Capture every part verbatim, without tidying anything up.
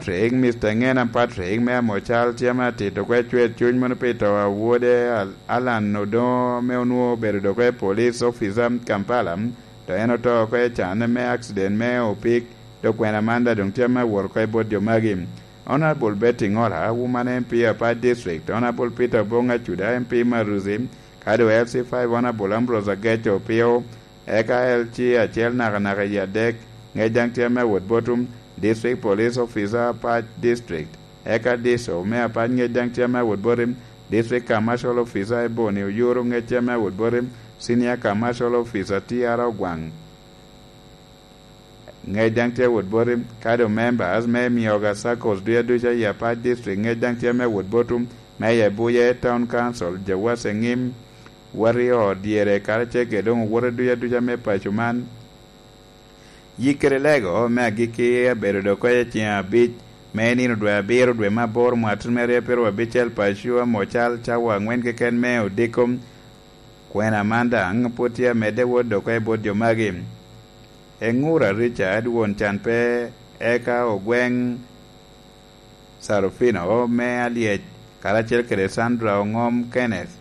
Patrick, Mister Ngena Patrick me Amocal tye ame atito kwe cwer cuny mono pi to a wode Al- Alan Odongo ame onwoŋo obedo dok kwe police officer Kampala, to en oto kwe can me accident me opik, dok kwena man daŋ doŋ tye ame awot kwe bot jo magi. Honorable Betty Ngola, woman M P Apac District, Honorable Peter Obong Acuda, M P Maruzi, kadi L C five Honorable Ambrose Ageco Opio, eka L C acel nakanaka i adek, ŋec daŋ tye ame awot bot District Police Officer Apac District, eka D I S O me Apac ŋec daŋ tye ame awot bot District Commercial Officer Ebony Oyuru ŋec tye ame awot bot Senior Commercial Officer T R Ogwaŋ. Ŋec daŋ tye awot bot, kadi members me Mioga Circles duya duca i Apac District ŋec daŋ tye ame awot bot, me i Abuye Town Council, Jawase Ŋim, Warrior dyere, karacel kede doŋ owote duya duca me paco man. Yik kede lego me agikki abedo dok kweyo ceŋ abic me nino dwe abiro dwe me aboro mwatun me aryo abicel paco amo cal cawa angwen keken me odiko. Kwena man daŋ pwod tye amedde wot dok kweyo bot jo magi. Eŋura Richard won can pe, eka ogweŋ Sarufino me Alyec, karacel kede Sandra Oŋom Kenneth,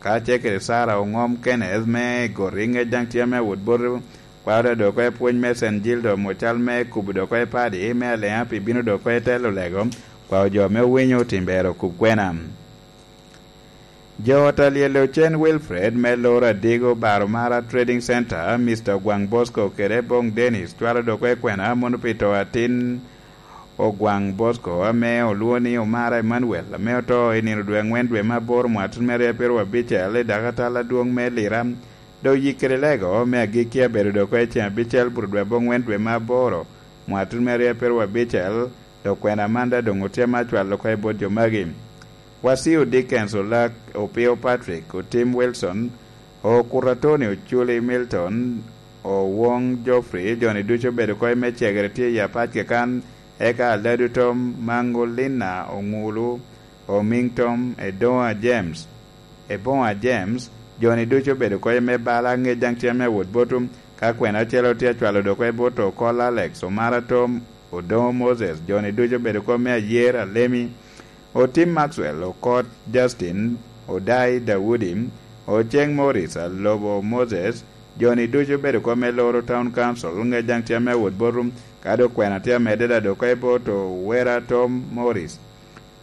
karacel kede Sara Oŋom Kenneth me Igoti ŋec daŋ tye ame awot bot kwaro dok kweyo pwony me Saint Gildo Mucal me kubo dok kweyo padi me Aleŋa pi bino dok kweyo telo lego, kwaro jo me owinyo tim ber okub kwena. Jo ot a lyel ocen Wilfred me loro Adigo Baromara Trading Center, Mister Ogwaŋ Bosco kede Bong Dennis cwalo dok kwe kwena mono pi to atin Ogwaŋ Bosco ame olwoŋo ni Omara Emmanuel ame oto i nino dwe aŋwen dwe me aboro mwatun me aryo abicel i dakatal adwoŋ me Lira. Dok yik kede lego me agikki abedo dok kwe ceŋ abicel buto dwe aboŋwen dwe me aboro mwatun me aryo abicel, dok kwena man daŋ doŋ otye ame acwalo oko i bot jo magi. Wasio Dickens Olak, Opio Patrick, Otim Wilson, Okuta Tony Oculi Milton, Owoŋ Geoffrey, jo-ni ducu obedo kop me cegere tye i apac kakan, eka Aladu Tom, Maŋo Lina Oŋulu, Omiŋ Tom, Edoŋa James, Eboŋa James, jo-ni ducu obedo kop me bala, ŋec daŋ tye ame awot bot, ka kwena acel tye acwalo dok i bot Okol Alex, Omara Tom, Odoŋo Moses, jo-ni ducu obedo kop me Ayer Alemi, Otim Maxwell, Okot Justin, Odai Daudi, Oceng Morris, Alobo Moses, jo-ni ducu obedo kop me loro Town Council, ŋec daŋ tye ame awot bot, ka dok kwena tye amedde daŋ dok i bot Owera Tom Morris,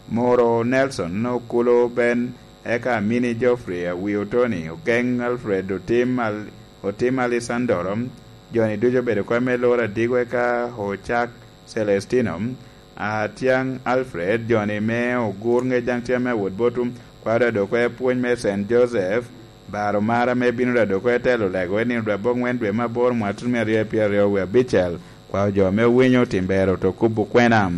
Moro Nelson, Okulo Ben, eka Amini Geoffrey, Awio Tony, Ogeŋ Alfred, Otim Al-, Otim Alessandro, jo-ni ducu obedo kop me loro Adigo, eka Ocak Celestino, Atyaŋ Alfred, jo-ni me Ogur ŋec daŋ tye ame awot bot, kwaro dok kwe pwony me Saint Joseph, Baromara ame bino daŋ dok kwe telo lego i nino dwe aboŋwen dwe me aboro mwatun me aryo pyeraryo wie abicel, kwaro jo ame owinyo tim ber oto kubo kwena.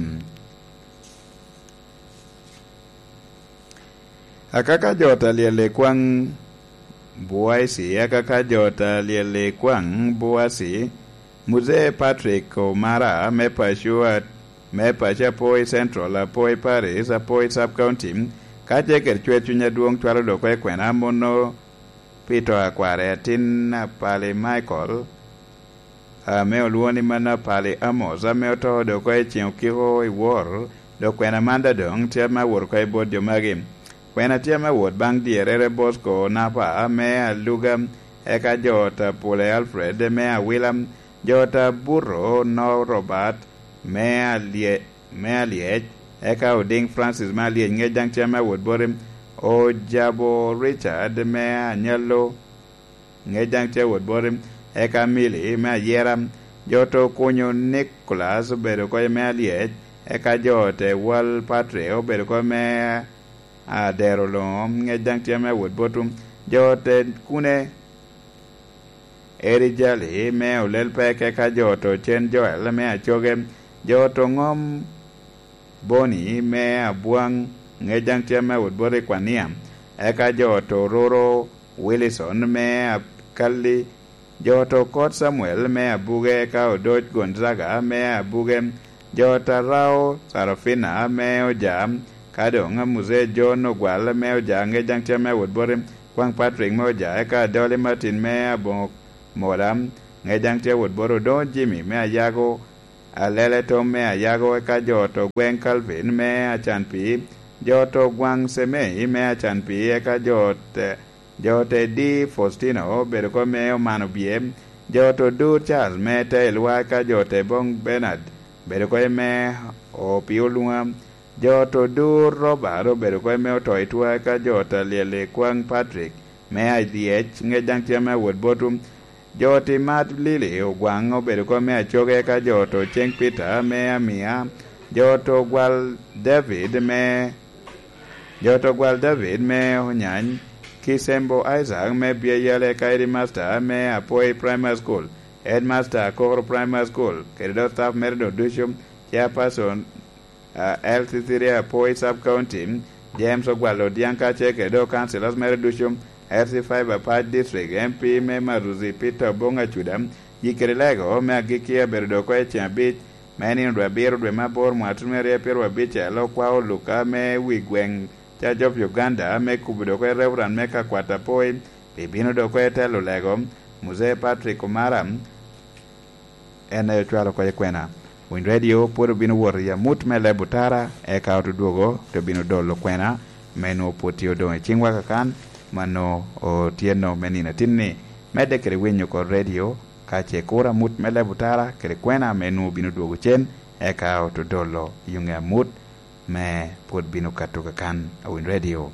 Akaka jo ta lyel i kwaŋ Buaisi, akaka jo ta lyel i kwaŋ Buaisi, Muzee Patrick Omara me paco a-, me paco Apoi Central, Apoi Parish, Apoi Sub County, ka tye kede cwer cuny adwoŋ cwalo dok kwe kwena mono pi to a kware atin Apali Michael, ame olwoŋo ni mano Apali Amos, ame oto dok oko i ceŋ okiko i wor, dok kwena man daŋ doŋ tye ame awot oko i bot jo magi. Kwena tye ame awot baŋ dyerrere Bosco Napa me Aluga, eka jo ot a Pule Alfred me Awila, jo ot a Buto Noo Robert me Alye-, me Alyec, eka Odiŋ Francis me Alyec ŋec daŋ tye ame awot boti, Ojabo Richard me Anyallo, ŋec daŋ tye awot boti, eka Mili me Ayera, jo to Okunyo Nicolas obedo oko me Alyec, eka jo te Wal Patre obedo oko me Adero Loŋo, ŋec daŋ tye ame awot bot, jo te Kune, Eri Jali me Olel Pek, eka jo to Cen Joel me Acoge, jo to Ŋom Boni me Abwaŋ, ŋec daŋ tye ame awot bot i Kwania, eka jo to Roro Wilison me Akalli, jo to Kot Samuel me Abuge, eka Odoc Gonzaga me Abuge, jo to Arao Sarafina me Oja, ka doŋ Muzee John Ogwal me Oja, ŋec daŋ tye ame awot bot i Kwaŋ Patrick me Oja, eka Adoli Martin me Aboŋo Mola, ŋec daŋ tye awot bot Odoŋo Jimmy me Ayago, Alele Tom me Ayago, eka jo to Gweŋ Calvin me Acanpii, jo to Gwaŋ Semei me Acanpii, eka jo te, jo te Di Faustino obedo ko me Omano Bye, jo to Dur Charles me Teilwa, eka jo te Boŋ Bernard obedo ko me Opio Luŋa, jo to Dur Robert obedo ko me Otoitwa, eka jo ta Lyeli Kwaŋ Patrick me Aryec, ŋec daŋ tye ame awot botwu. Jo ti Mat Lili Ogwaŋ obedo ko me Acoge, eka jo to Ceŋ Peter me Amia, jo to Gwal David me, jo to Gwal David me Onyany, Kisembo Isaac me Byeyal, eka Headmaster me Apoi Primary School, Headmaster Akokoro Primary School, kede dok staff mere doŋ ducu, Chairperson, ah, L C three Apoi Sub County, James Ogwal Odiaŋ, kacel kede dok councillors mere ducu, L C five Apac District, M P me Maruzi Peter Obong Acuda, yikere lego me agikki abedo dok oko i ceŋ abic me nino dwe abiro dwe me aboro mwaka tutumia aryo pyeraryo abic, alo kwao Luka me wi gweŋ Church of Uganda me kubo dok oko i Reverend me Kakwat Apoi, pi bino dok oko i telo lego, Muzee Patrick Omara, en aye ocwalo oko i kwena. Winy Radio pwod obino wot i amut me leb otara, eka otudwogo te bino dolo kwena, me nwoŋo pwod tye odoŋ i ciŋwa kakan, mano otyeno me nino atinni. Medde kede winyo oko radio, ka ce kuro amut me leb otara kede kwena me nwoŋo bino dwogo cen, eka otudolo i ŋe amut me pwod bino kato kakan a Winy Radio.